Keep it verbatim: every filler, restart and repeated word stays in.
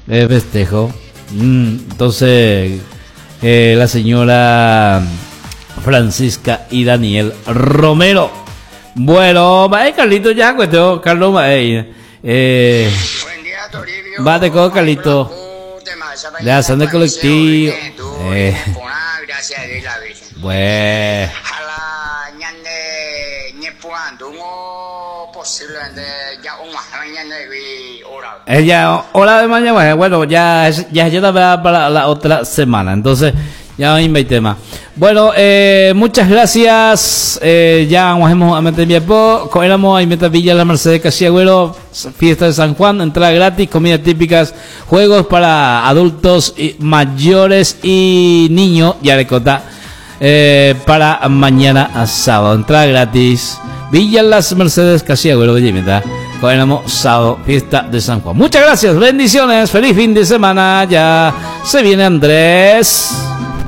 Eh, festejo. Mm, entonces, eh, la señora Francisca y Daniel Romero. Bueno, va, Carlito, ya, cuento, Carlos, va, eh, eh, Buen día, Toribio. Va, te cojo, Carlito. Le hacen de colectivo. Eh. Gracias a Dios la Virgen. Bueno. Jala ñande ñepuandungo posiblemente ya un mañana vi hora. Ella, hora de mañana, bueno, ya, ya, ya la para la otra semana. Entonces, ya no hay tema. Bueno, eh, muchas gracias. Eh, ya vamos a meter mi Éramos a Meta Villa La Mercedes Casiagüero, fiesta de San Juan, entrada gratis, comidas típicas, juegos para adultos y mayores y niños, ya le cota, eh, para mañana a sábado. Entrada gratis. Villa Las Mercedes Casiagüero, Bellimeta. Éramos sábado, fiesta de San Juan. Muchas gracias, bendiciones, feliz fin de semana. Ya se viene Andrés.